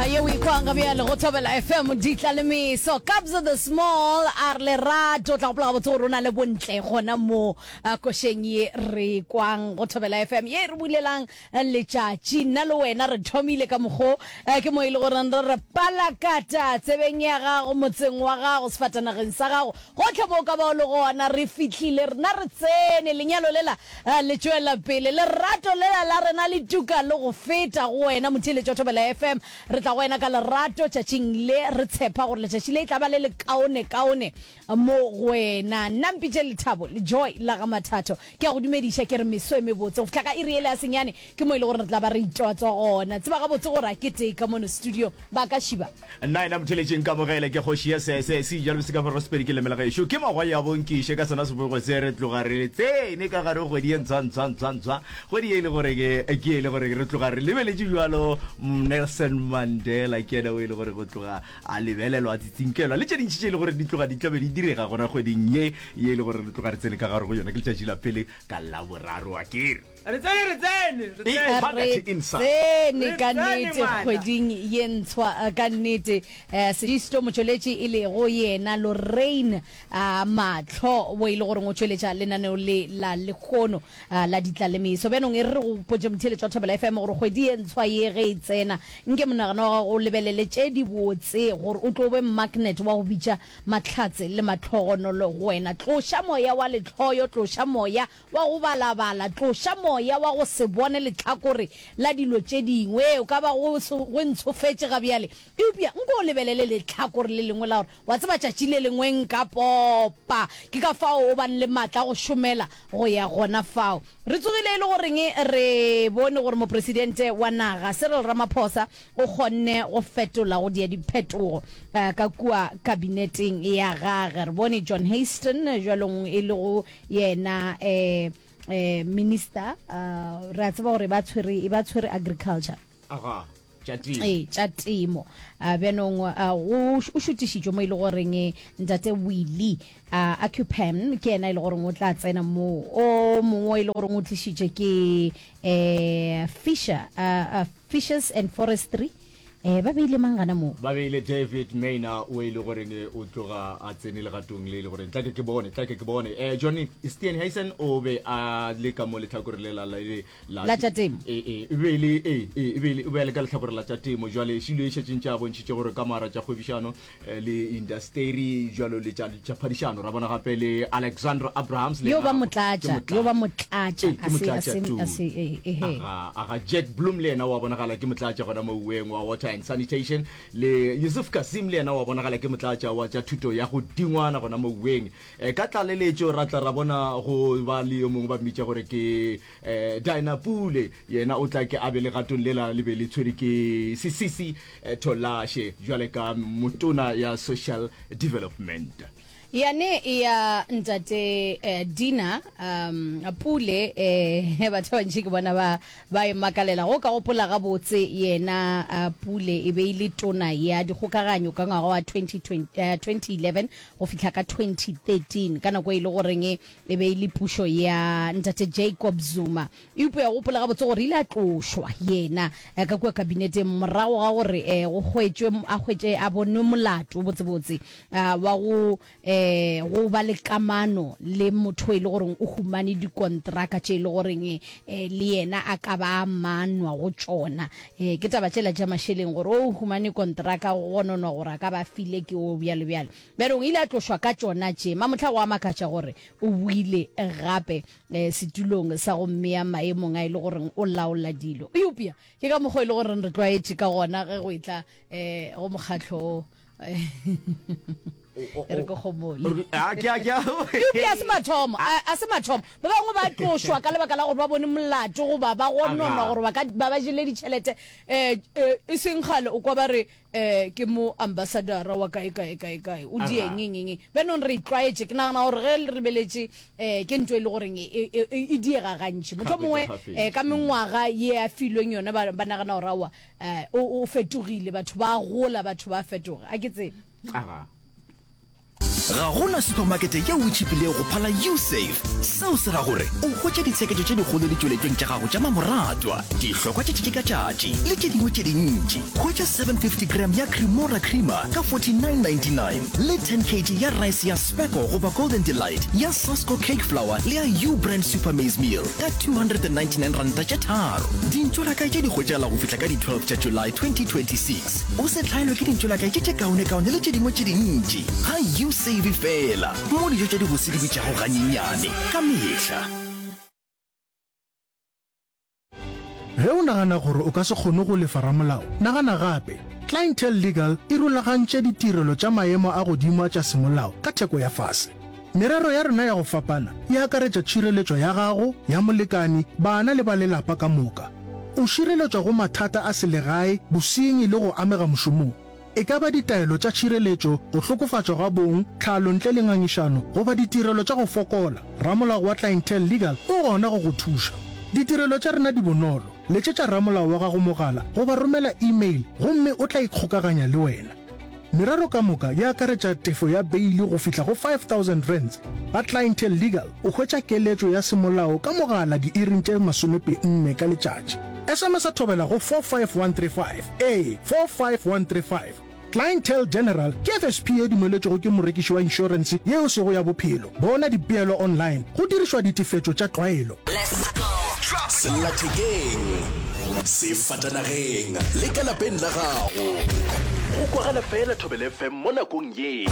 Ye o ikwang ga bjale go Thobela FM ditla le meso Kabza the Small a re lerato tla gopola gabotse gore o na le bontle gona mo košeng ye re kwang go Thobela FM ye re bulelang letšatši nna le wena re thomile ka mokgo ke mo e le gore re re palakata tsebeng ya gago motseng wa gago sefatanageng sa gago gotlhe mo o ka ba o le gona re fihlile rena re tsene lenyalo lela Le tšwela pele lerato lela la rena le tuka le go feta go wena motheeletši wa Thobela FM. Re tla go wena ka lerato tšatšing le, re tshepa gore letšatši le e tla ba le lekaonekaone mo go wena. Nna mpitše Lethabo le Joy la ga Mathatho. Ke a go dumediša ke re meso e mebotse. Go fihla ka iri yela ya senyane ke mo e le gore re tla ba re itwatswa gona. Tseba gabotse gore a ke tee ka mono studio ba ka šiba. Nna ena motheletši nkamogele ke kgoši ya sese se ijalo se ka fara sepedi ke lemela gešo ke magwa ya bonkiše ka sona sebopego se re tloga re tsene ka gare kgwedi ye ntshwa ntshwa ntshwa ntshwa kgwedi ye e le gore ke ke e le gore re tloga re lebeletše jwalo Nelson Mandela ke yena o e le gore go tloga a lebelelwa a tsitsinkelwa le tše dintši tše e le gore di tloga di tlabe di direga gona kgweding ye ye e le gore re tloga re tsene ka gare go yona ke letšatši la pele ka Laboraro a kere Re tsene, re tsene, re tsene. Re tsene ka nnete kgweding ye ntshwa ka nnete. Sedisto motšweletši e lego yena Lorraine Mahlo wo e le goreng o tšweletša lenaneo le la lehono la Ditlalemeso. Bjanong e re re go potše motheeletši wa Thobela FM gore kgwedi ye ntshwa ye ge e tsena nke monagano wa gago o lebelele tše dibotse gore o tlo be magnet wa go bitša mahlatse le mahlogonolo go wena. Tloša moya wa lehloyo, tloša moya wa go balabala, tloša moya wa go se bone lehlakore la dilo tše dingwe. Ee, o ka ba go, go ntshofetše ga bjale, eupša nko o lebelele lehlakore le lengwe la gore, wa tseba, tšatši le lengwe nka popa. Ke ka fao o bang le matla a go šomela go ya gona fao. Re tsogile e le goreng re bone gore Mopresidente wa naga, Cyril Ramaphosa, o kgonne go fetola go dia diphetogo ka kua kabineteng ya gage. Re bone John Hayston, bjalong e lego Yena eh eh minister uh, re a tseba gore ba tshwere e ba tshwere agriculture. Aga, tša temo. Ee, tša temo. Uh, bjanong uh, go o šutišitšwe mo e le goreng eh, ntate Willie uh, Acupan ke yena e le goreng o tla tsena moo. O mongwe e le goreng o tlišitše ke eh Fisher uh, uh, Fishers and Forestry. Eh, ba beile mang gana moo? Ba beile David Maynor o e le goreng o tloga a tsene legatong le e le goreng tla ke ke bone, tla ke ke bone. Eh, Johnny Steenhuisen o be a le ka mo lehlakore le la la la La tša temo. E, e, e be e le, e, e, e be e le, o be a le ka lehlakore la tša temo. Jwale Shilo e šetše ntše a bontšhitše gore ka mara tša kgwebišano eh, le indasteri jwalo le tša tša phadišano. Ra bona gape le Alexandra Abrahams le Yo ba yena ke motlatša, yo ba motlatša. motlatša, Ee, ke a se, a motlatša se, tu. a se, e, ehe. Aga, aga Jack Bloom le yena wa bonagala ke motlatša gona mo uweng wa Water and Sanitation, le Yusuf Cassim le yena wa bonagala ke motlatša wa tša thuto ya go dingwana gona mo uweng. Eh, ka tlaleletšo ra tla ra bona go ba le yo mongwe ba mmitša gore ke eh, Dinah Pule, yena o tla ke a be legatong lela le be le tshwere ke Sisisi eh, Tolashe jwale ka motona ya Social Development. Yane ya ntate eh, Dina um, Pule eh, batho ba bantši ke bona ba ba e makalela. Go ka gopola gabotse yena uh, Pule e be e le tona ya dikgokaganyo ka ngwaga wa 2020, eh, 2011 go fihla ka 2013 ka nako e le goreng e be e le pušo ya ntate Jacob Zuma. Eupša gopola gabotse gore ile a tlošwa yena eh, ka kua kabineteng morago ga gore eh, go hwetšwe a hwetše a bonwe molato botsebotse wa go um go ba le kamano le motho e le goreng o humane dikontraka tše e le goreng um le yena a ka ba a manwa go tšona. Um ke taba tšela tša mašeleng gore o humane kontraka go gononwa gore a ka ba file ke o bjalo bjalo. Bjale o ile a tlošwa ka tšona tše. Mamohla go a makatša gore o boile gape um setulong sa go mmea maemong a e le goreng o laola dilo. Eupša ke ka mokgwa e le goreng re tlwaetše ka gona ge go etla um go mokgatlo o. E re ke gomole. Eupša a se mathomo, a se mathomo. Ba bangwe ba tlošwa ka lebaka la gore ba bone molato goba ba gononwa gore ba ka ba ba jele ditšhelete. Um e seng kgale o kwa ba re um ke mo ambassadora wa kae kae kae kae o dieng eng eng. Bjanong re itlwaetše, ke nagana gore ge re lebeletše um ke ntho e le goreng e, e, e, e diega gantši. Mohlomongwe um ka mengwaga ye a filweng yona ba, ba nagana gore aowa Eh, o, o fetogile, batho ba gola, batho ba fetoga. A ke tsebe. Aga. Ga go na supamakete yeo e tšhipilego go phala Usave. Seo se ra gore o hwetša ditsheketšo tše dikgolo ditšweletšong tša gago tša mamoratwa, dihlokwa tša tšatši ka tšatši le tše dingwe tše dintši. Hwetša 750 gram ya Cremora creamer ka 49.99 le 10 kg ya rice ya Specco goba Golden Delight ya Sasko cake flour le ya U-Brand Super Maize Meal ka 299 ranta tše tharo. Dintšolakae tše di hwetšagala go fihla ka di 12 tša July 2026. O se hlaelwe ke dintšolakae tše tše kaonekaone le tše dingwe tše dintši ga U-Save feela, mo dijo tša dibose di bitšago ganyenyane ka mehla. Ge o nagana gore o ka se kgone go lefa ramolao, nagana gape. Clientele Legal e rulagantše ditirelo tša maemo a godimo a tša semolao ka theko ya fase. Merero ya rena ya go fapana e akaretša tšhireletšo ya gago, ya molekani, bana le ba lelapa ka moka. O šireletšwa go mathata a selegae, bosenyi le go amega mošomong. E ka ba ditaelo tša tšhireletšo, go hlokofatšwa ga bong, tlhalo ntle le ngangišano, goba ditirelo tša go fokola, ramolao wa Clientele Legal o gona go go thuša. Ditirelo tša rena di bonolo. Letšetša ramolao wa gago mogala goba romela e-mail gomme o tla ikgokaganya le wena. Merero ka moka e akaretša tefo ya beili go fihla go R5000. Ba Clientele Legal o hwetša keletšo ya semolao ka mogala diiring tše masomepenne ka letšatši. SMS-a thobela go 45135. Ee, 45135. Clientele General ke FSP ye dumeletšwego ke morekiši wa inšorense ye e sego ya bophelo. Bona dipeelo online go dirišwa ditefetšo tša tlwaelo. Sellathekeng, sefatanageng le ka lapeng la gago. Go kwagala fela Thobela FM mo nakong ye.